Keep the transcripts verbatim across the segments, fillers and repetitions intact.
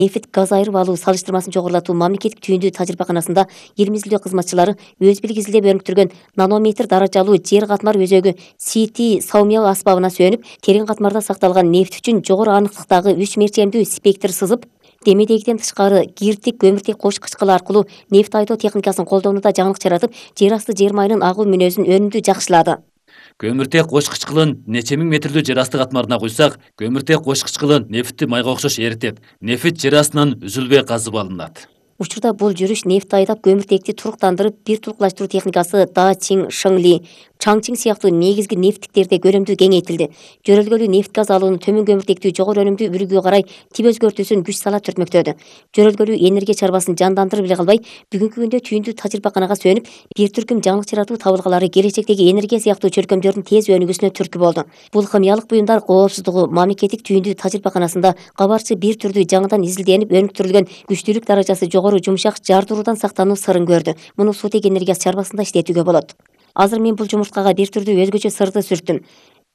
Нефть газ айырып алуу салыштырмасын жогорулатуу мамлекеттик түйүндүү тажрыйбаканасында эл изилдөө кызматчылары өз билгизилдеп өнүктүргөн нанометр даражалуу жер катмар өзөгү си ти саумял аспабына сүйөнүп, терең катмарда сакталган нефть үчүн жогору аныктыктагы үч мерчемдүү спектр сызып, демедегиден тышкары гирдик көмүртек кош кычкылы аркылуу нефть айдоо техникасын колдонууда жаңылык жаратып, жер асты жер майынын агуу мүнөзүн өнүмдүү жакшылады. Көмүртек кош кычкылын нече миң метрлүү жер асты катмарына куйсак, көмүртек кош кычкылы нефтти майга окшош эритип, нефть жер астынан үзүлбөй казып алынат. Учурда бул жүрүш нефть айдап көмүртекти туруктандырып, бир турукташтыруу техникасы Да Чин Шыңли, Чаңчин сыяктуу негизги нефттиктерде көрөмдүү кеңейтилди. Жөрөлгөлүү нефть газ алууну төмөн көмүртектүү жогору өнүмдүү үрүгүгө карай тип өзгөртүүсүн күч сала түртмөктөдү. Жөрөлгөлүү энергия чарбасын жандандырып эле калбай, бүгүнкү күндө түйүндүү тажрыйбаканага сүйөнүп, бир түркүм жаңылык жаратуу табылгалары келечектеги энергия сыяктуу чөлкөмдөрдүн тез өнүгүүсүнө түрткү болду. Бул химиялык буюмдар коопсуздугу мамлекеттик түйүндүү тажрыйбаканасында кабарчы бир түрдүү жаңыдан изилденип өнүктүрүлгөн күчтүүлүк даражасы жогору жумшак жардыруудан сактануу сырын көрдү. Муну сутек энергиясы чарбасында иштетүүгө болот. Азыр мен бул жумурткага бир түрдүү өзгөчө сырды сүрттүм.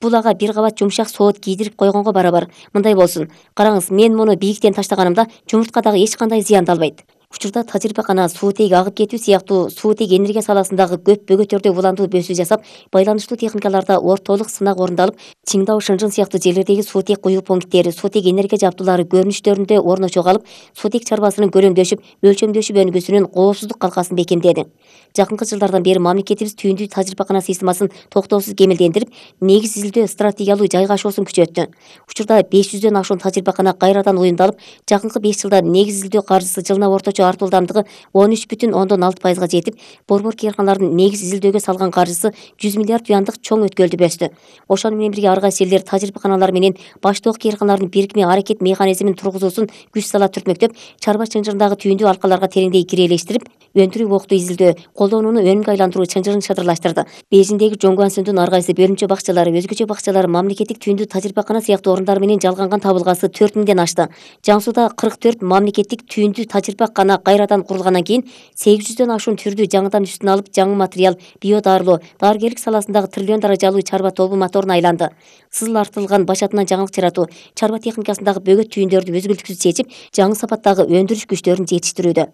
Бул ага бир кабат жумшак соот кийдирип койгонго барабар. Мындай болсун. Караңыз, мен муну бийиктен таштаганымда жумурткадагы эч кандай зыянды албайт. Учурда тажрыйбакана суутек агып кетүү сыяктуу суутек энергия саласындагы көп бөгөттөрдө уландуу бөсүү жасап, байланыштуу техникаларда ортолук сынак орундалып, Чиңдау Шынжын сыяктуу жерлердеги суутек куюу пункттери, суутек энергия жабдуулары көрүнүштөрүндө орношо калып, суутек чарбасынын көлөмдөшүп, өлчөмдөшүп өнүгүүсүнүн коопсуздук калкасын бекемдеди. Жакынкы жылдардан бери мамлекетибиз түйүндүү тажрыйбакана системасын токтоосуз кемелдендирип, негиз изилдөө стратегиялуу жайгашуусун күчөттү. Учурда беш жүздөн ашуун тажрыйбакана кайрадан уюмдалып, жакынкы беш жылда негиз изилдөө каржысы жылына орточо артылдамдыгы он үч бүтүн ондон алты пайызга жетип, борбор кыйрканалардын негиз изилдөөгө салган каржысы жүз миллиард юандык чоң өткөлдү өстү. Ошону менен бирге ар кайсы элдер тажрыйбаканалар менен баштоок кыйрканалардын бирикме аракет механизмин тургузуусун күч сала түртмөктөп, чарба чынжырындагы түйүндүү алкаларга тереңдей кирелештирип, өндүрүү октуу изилдөө, колдонууну өнүмгө айландыруу чынжырын шыдырлаштырды. Бейжиңдеги Жоңгуансүндүн ар кайсы бөлүмчө бакчалары, өзгөчө бакчалары мамлекеттик түйүндүү тажрыйбакана сыяктуу орундар менен жалганган табылгасы төрт миңден ашты. Жан Сууда кырк төрт мамлекеттик түйүндүү тажрыйбакана кайрадан курулгандан кийин сегиз жүздөн ашуун түрдүү жаңыдан үстүн алып, жаңы материал, био дарылоо, дарыгерлик саласындагы триллион даражалуу чарба тобу моторуна айланды. Сызыл артылган башатынан жаңылык жаратуу, чарба техникасындагы бөгөт түйүндөрдү өзгүлтүксүз чечип, жаңы сапаттагы өндүрүш күчтөрүн жетиштирүүдө.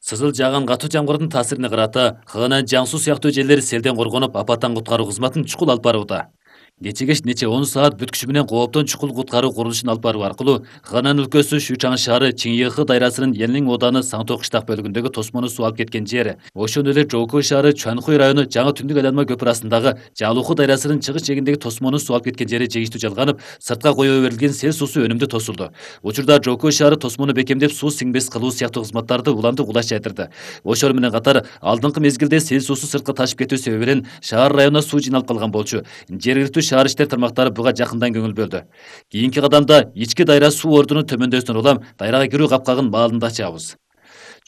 Сызыл жааган катуу жамгырдын таасирине карата Хына, Жан Суу сыяктуу жерлер селден коргонуп, апаттан куткаруу кызматын чукул алып барууда. Кече-кеч нече он саат бүткүчү менен кооптон чукул куткаруу курулушун алып баруу аркылуу Хынан өлкөсү Шучан шаары Чиңйыхы дайрасынын Элнин ооданы Саңтоо кыштак бөлүгүндөгү тосмону суу алып кеткен жери. Ошондой эле Жоукой шаары Чуанхуй району Жаңы Түндүк айланма көпүр астындагы Жалуху дайрасынын чыгыш жээгиндеги тосмону суу алып кеткен жери жегиштүү жалганып, сыртка коюу берилген сел суусу өнүмдүү тосулду. Учурда Жоукой шаары тосмону бекемдеп, суу сиңбес кылуу сыяктуу кызматтарды улантуу кулаш жайтырды. Ошол менен катар алдыңкы мезгилде сел суусу сыртка ташып кетүү себебинен шаар районуна суу жыйналып калган болчу. Жергиликтүү шаар иштер тармактары буга жакындан көңүл бөлдү. Кийинки кадамда ички дайра суу ордунун төмөндөсүнөн улам дайрага кирүү капкагын маалында ачабыз.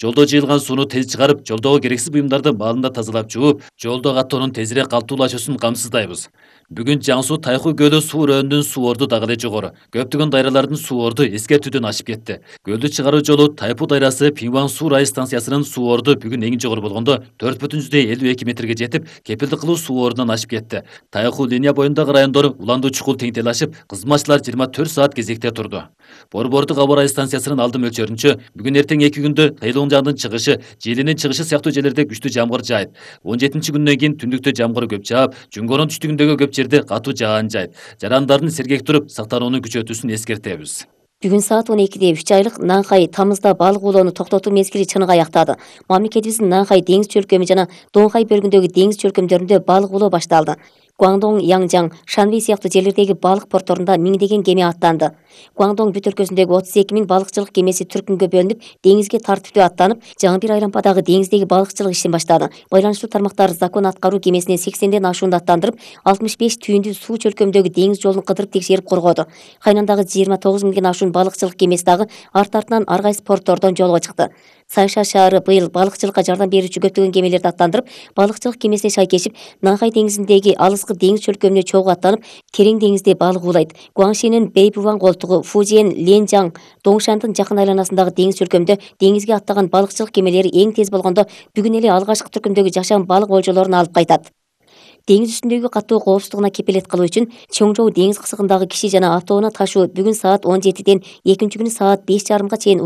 Жолдо жыйылган сууну тез чыгарып, жолдогу керексиз буюмдарды маалында тазалап жууп, жолдо каттоонун тезирээк калктуулашуусун камсыздайбыз. Бүгүн Жан Суу Тайхуй көлү суу өрөөнүнүн суу орду дагы эле жогору. Көптөгөн дайралардын суу орду эскертүүдөн ашып кетти. Көлдү чыгаруу жолу Тайпу дайрасы Пиңван суу райы станциясынын суу орду бүгүн эң жогору болгондо төрт бүтүн жүздөн элүү эки метрге жетип, кепилдик кылуу суу ордунан ашып кетти. Тайху линия боюндагы райондор уландуу чукул теңдел ашып, кызматчылар жыйырма төрт саат кезекте турду. Борбордук аба ырайы станциясынын алды мөлчөрүнчө бүгүн эртең эки күндө Кыйлуңжандын чыгышы, Желинин чыгышы сыяктуу жерлерде күчтүү жамгыр жаайт. он жетинчи күндөн кийин түндүктө жамгыр көп жаап, Жүнгөрүн түштүгүндөгү көп жерде катуу жаан жайт. Жарандардын сергек туруп, сактанууну күчөтүүсүн эскертебиз. Бүгүн саат он экиде үч айлык Нанхай тамызда балык оолоону токтотуу мезгили чыныгы аяктады. Мамлекетибиздин Нанхай деңиз чөлкөмү жана Доңхай бөлүгүндөгү деңиз чөлкөмдөрүндө балык оолоо башталды. Гуаңдоң, Янжаң, Шанвей сыяктуу жерлердеги балык порторунда миңдеген кеме аттанды. Гуаңдоң бүт өлкөсүндөгү отуз эки миң балыкчылык кемеси түркүнгө бөлүнүп, деңизге тартиптүү аттанып, жаңы бир айлампадагы деңиздеги балыкчылык ишин баштады. Байланыштуу тармактар закон аткаруу кемесине сексенден ашуунду аттандырып, алтымыш беш түйүндүү суу чөлкөмдөгү деңиз жолун кыдырып текшерип коргоду. Кайнандагы жыйырма тогуз миңден ашуун балыкчылык кемеси дагы арт артынан ар кайсы порттордон жолго чыкты. Сайша шаары быйыл балыкчылыкка жардам берүүчү көптөгөн кемелерди аттандырып, балыкчылык кемесине шайкешип, Нанхай деңизиндеги алыскы деңиз чөлкөмүнө чогуу аттанып, терең деңизде балык уулайт. Гуаңшенин Бэйбуван колтугу, Фужиен, Ленжаң, Доңшандын жакын айланасындагы деңиз чөлкөмдө деңизге аттаган балыкчылык кемелери эң тез болгондо бүгүн эле алгачкы түркүмдөгү жашам балык олжолорун алып кайтат. Деңиз үстүндөгү катуу коопсуздугуна кепилет кылуу үчүн Чоңжоу деңиз кысыгындагы киши жана автоунаа ташуу бүгүн саат он жетиден экинчи күнү саат беш жарымга чейин